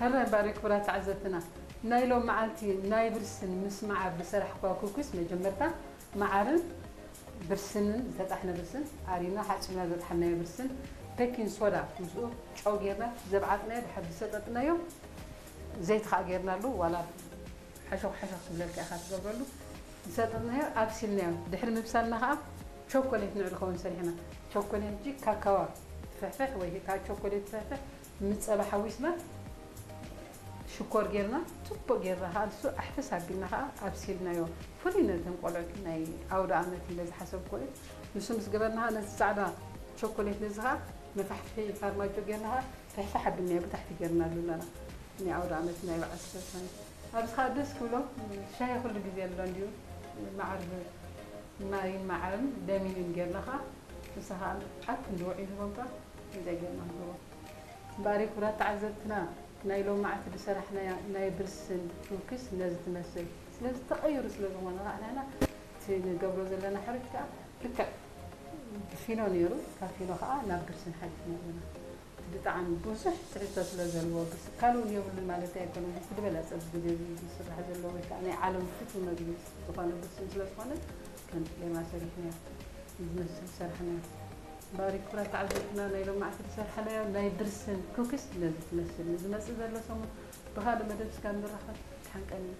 ኣረ ባሪ ክቡራት ተዓዘብትና፣ ናይ ሎም መዓልቲ ናይ ብርስን ምስ መዓር ዝሰራሕኳ ኩኪስ፣ መጀመርታ መዓርን ብርስንን፣ ዝተጣሕነ ብርስን ኣሪና ሓጺብና ዘጥሓናዮ ብርስን፣ ቤኪንግ ሶዳ ምስኡ ጨው ጌርና ዘብዓጥናዮ ድሓር ዝሰጠጥናዮ ዘይቲ ከዓ ጌርናሉ፣ ዋላ ሓሾኽ ሓሾኽ ክብለልካ ኢኻ ትገብረሉ። ዝሰጠጥናዮ ኣብሲልናዮ ድሕሪ ምብሳልና ከዓ ቸኮሌት ንዕሊ ኸውን ሰሪሕና። ቸኮሌት እንጂ ካካዋ ትፍሕፍሕ ወይ ከዓ ቸኮሌት ትፍሕፍሕ ምስ ጸባ ሓዊስና ሽኮር ጌርና ጽቡቅ ጌርና ከዓ ንሱ ኣሕፈስ ኣቢልና ከዓ ኣብሲልናዮ። ፍሉይ ነተን ቆልዑት ናይ ኣውደ ኣመት ኢለ ዝሓሰብኮ እዩ። ንሱ ምስ ገበርና ከዓ ነዚ ጻዕዳ ቸኮሌት ነዚ ከዓ መፋሕፍሒ ፋርማጆ ጌርና ከዓ ፍሕፍሕ ኣቢልናዮ ብታሕቲ ጌርናሉ ኣለና። ናይ ኣውደ ኣመት ናይ በዓል ዝተሰነ ኣብዚ ከዓ ደስ ክብሎም ሻሂ ኩሉ ግዜ ኣሎ እንዲዩ። መዓር ማይን መዓርን ለሚንን ጌርና ከዓ ንሳ ከዓ ኣብ ክንዲ ውዒ ንህቦም ከዓ እንታይ ጌርና ንህቦም። እምበኣር ክቡራት ተዓዘብትና፣ ናይ ሎማዕቲ ዝሰራሕናያ ናይ ብርስን ኩኪስ ነዚ ትመስል። ስለዚ ተቐይሩ ስለ ዝኾነ ከዓ ንሕና እቲ ንገብሮ ዘለና ሕሩጭ ከዓ ልክዕ ብፊኖ ነይሩ፣ ካብ ፊኖ ከዓ ናብ ብርስን ሓሊፍና ኣለና። እቲ ብጣዕሚ ብዙሕ ትሕዝቶ ስለ ዘለዎ ብርስ ካልእ እውን የብሉን ማለት ኣይኮነን። እቲ ዝበለፀ ኣብዚ ግዜ እዚ ዝስራሕ ዘሎ ወይ ከዓ ናይ ዓለም ፍቱው መግቢ ዝኾነ ብርስን ስለ ዝኾነ ከምዚ ጌርና ሰሪሕናዮ። ዝመስል ዝሰራሕናዮ። እምበኣር ክቡራት ተዓዘብትና ናይ ሎማዕቲ ዝሰራሕናዮ ናይ ብርስን ኩኪስ ነዚ ትመስል። ንዝመፅእ ዘሎ ሰሙን ብኻልእ መደብ እስካብ ንራኸብ ድሓን ቀንዩ።